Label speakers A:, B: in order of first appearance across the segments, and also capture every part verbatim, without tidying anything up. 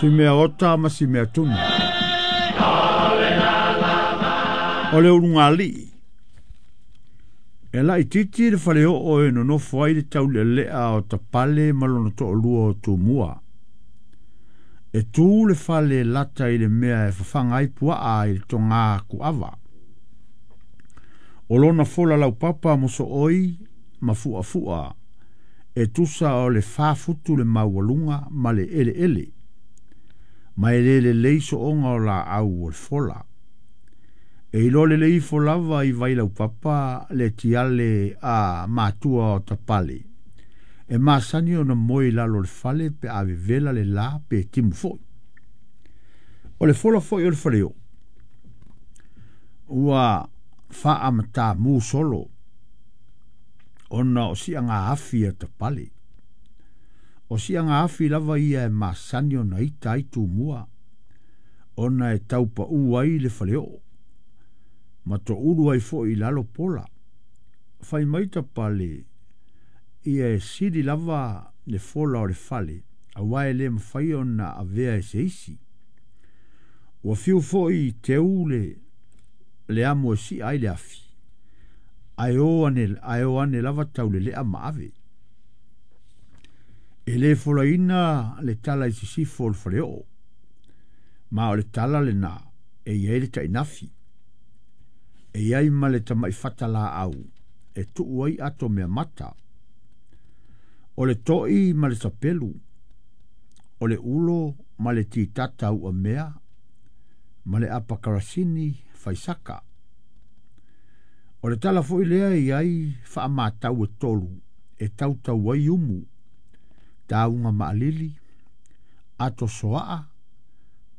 A: Si mea ota ma si mea tunu. O le ulugalii. E laitiiti le faleoo e nonofo ai le taulelea o Tapale ma lona toalua o Tumua. E tu le fale lata i le mea e fafaga ai puaa i le togā kuava. O lona fola laupapa mosooi ma fuafua e tusa o le fa futu le maualuga ma le eleele. Ma e le lelei sooga o laau o le fola. E iloa lelei ifo lava i vai laupapa le tiale a matua o Tapale. E masani ona moe i lalo o le fale pe a vevela le la pe timu foi. O le fola foi o le faleoo ua faamatā solo ona o siaga afi a Tapale. O siaga afi lava ia e masani ona ita ai Tumua ona e taupaū ai le faleoo ma toulu ai foi i lalo pola. Fai mai Tapale ia e sili lava le fola o le fale auā e le mafai ona avea e se isi. Ua fiu foi teu le le amo e si'a ai le afi ae o ane, ae o ane lava taulelea ma ave. E le folaina le tala i sisifo o le faleoo, ma o le tala lenā e i ai le tainafi. E i ai ma le tamai fata laau e tuu ai ato mea mata. O le to'i ma le sapelu, o le ulo ma le titata uamea, ma le apakarasini faisaka. O le tala foi lea e i ai faamatau e tolu e tautau ai umu, tauga maalili, ato soaa,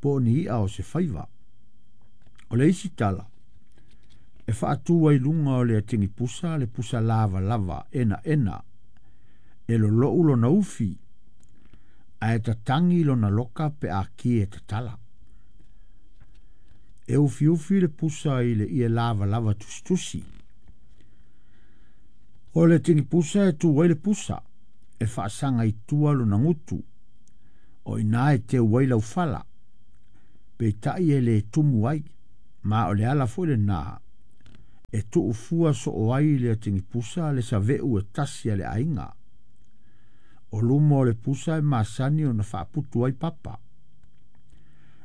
A: po o ni i'a o se faiva. O le isi tala, e faatu ai luga o le atigipusa le pusa lavalava enaena, e lolou lona ufi, ae tatagi lona loka pe a ki e tatala. E ufiufi le pusa i le ie lavalava tusitusi. O le tigipusa e tu ai le pusa, e faasaga i tua lona gutu, o iinā e teu ai laufala, peitai e le tumu ai, ma o le ala foi lenā e tuufua soo ai le atigipusa le saveu e tasi a le aiga. O luma o le pusa e masani ona faaputu ai papa.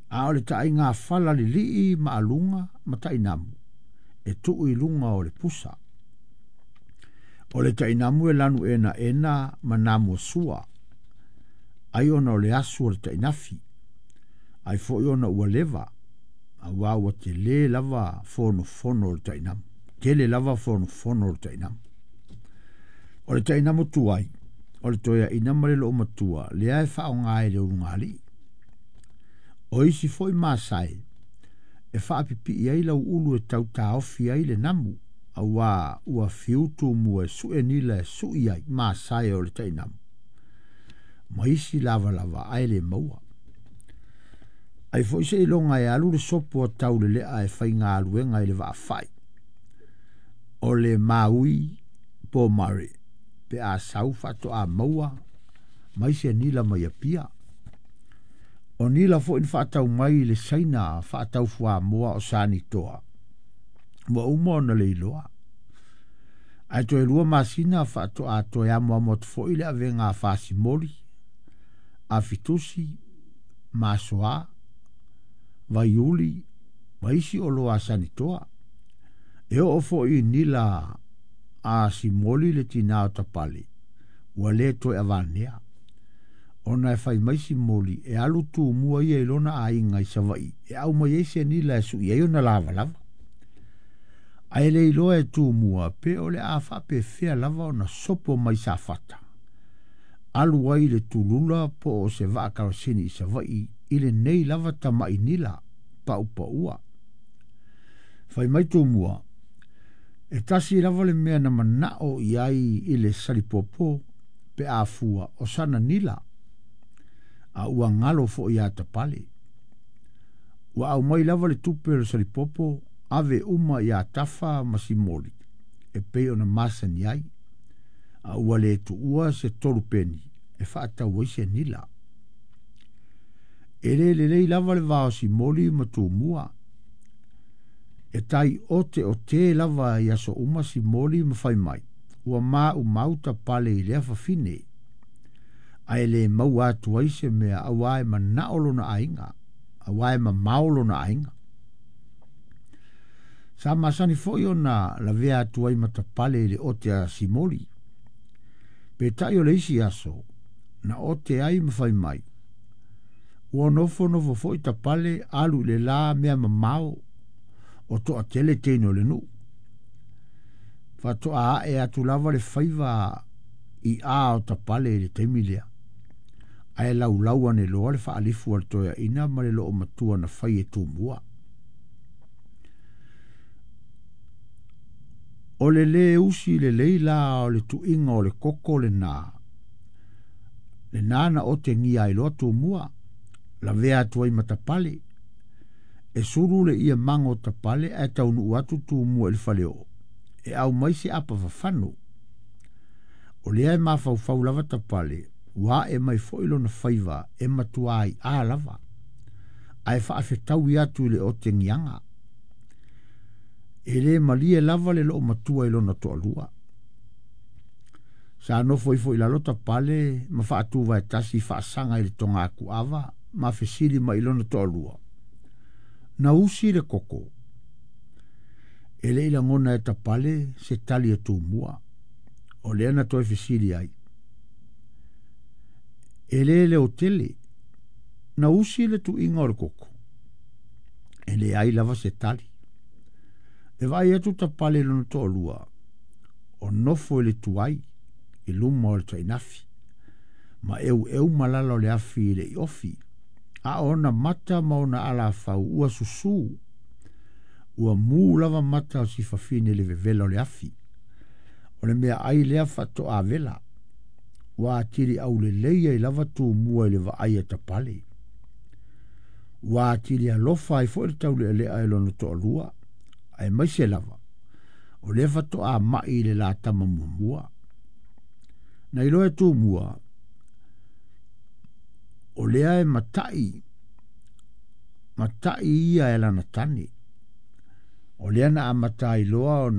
A: A o le taaiga fala lilii ma aluga ma tainamu e tuu i luga o le pusa. O le tainamu e lanu enaena ma namu sua, ai ona o le asu o le tainafi, ai foi ona ua leva, auā ua telē lava fonofono o le tainamu. Tele lava fonofono o le tainamu. O le tainamu tuai, o le toeaina ma le loomatua, lea e faaaogā e le ulugalii. O isi foi masae, e faapipii ai lauulu e tautaofi ai le namu, auā ua fiu Tumua e sue nila e sui ai masae o le tainamu. Ma isi lavalava ae le maua. Ai foi seiloga e alu le sopo a taulelea e faigaluega i le vaafai. O le maui po mare pe a sau faatoā maua mai se nila mai Apia. O nila foi na faatau mai i le Saina faatau fuamoa o Sanitoa. Ua uma ona leiloa. Ae toe lua masina faatoā toe amoamo atu foi le avega a Fasimoli, Afitusi, Masoa, Vaiuli, ma isi oloa a Sanitoa. E oo foi i nila a Simoli le tinā o Tapale, ua le toe avanea. Ona e fai mai Simoli e alu Tumua ia i lona aiga i Savaii e aumai ai se nila e sui ai ona lavalava. Ae le iloa e Tumua pe o le a faapefea lava ona sopo mai Safata. Alu ai le tulula po o se vaa karosini i Savaii i lenei lava tamai nila paupaua. Fai mai Tumua, e tasi lava le mea na manao i ai i le salipopo pe a fua o sana nila, a ua galo foi iā Tapale. Ua aumai lava le tupe o le salipopo ave uma iā Tafa ma Simoli e pei ona masani ai, a ua le tuua se tolu peni e faatau ai se nila. E le lelei lava le va o Simoli ma Tumua. E tai ote o te lava i aso uma Simoli ma fai mai. Ua maumau Tapale i lea fafine. Ae le maua atu ai se mea auā e manao lona aiga, auā e mamao lona aiga. Sa masani foi ona lavea atu ai ma Tapale i le ote a Simoli. Peitai o le isi aso, na ote ai ma fai mai. Ua nofonofo foi Tapale alu i le la mea mamao o toatele teine o le nuu. Faatoa ae atu lava le faiva i a o Tapale i le taimi lea. Ae laulau ane loa le faalifu a le toeaina ma le loomatua na fai e Tumua. O le lē usi lelei la o le tuiga o le koko lenā, lenā na otegia ai loa Tumua, lavea atu ai ma Tapale. E sulu le ia mago o Tapale ae taunuu atu Tumua i le faleoo, e aumai se apa fafano. O lea e mafaufau lava Tapale, ua ae mai foi lona faiva e matua aiā lava, ae faafetaui atu i le otegiaga. E lē malie lava le loomatua i lona toalua. Sa nofo ifo i lalo Tapale ma faatuvaetasi faasaga i le togakuava ma fesili mai i lona toalua. Na usi le koko. E le i lagona e Tapale se tali a Tumua. O lea na toe fesili ai. E lē leotele. Na usi le tuiga o le koko. E leai lava se tali. E vaai atu Tapale i lona toalua. O nofo i le tuai i luma o le tainafi. Ma eueu malala o le afi i le iofi. A ona mata ma ona alafau ua susū. Ua mū lava mata o si fafine i le vevela o le afi. O le mea ai lea faatoa vela. Ua atili aulelei ai lava Tumua i le vaai a Tapale. Ua atili alofa ai foi le taulealea i lona toalua. Aemaise lava. O lea faatoa mai i le latama muamua. Na iloa e Tumua, o lea e matai, matai ia e lana tane. O lea na amata ai loa ona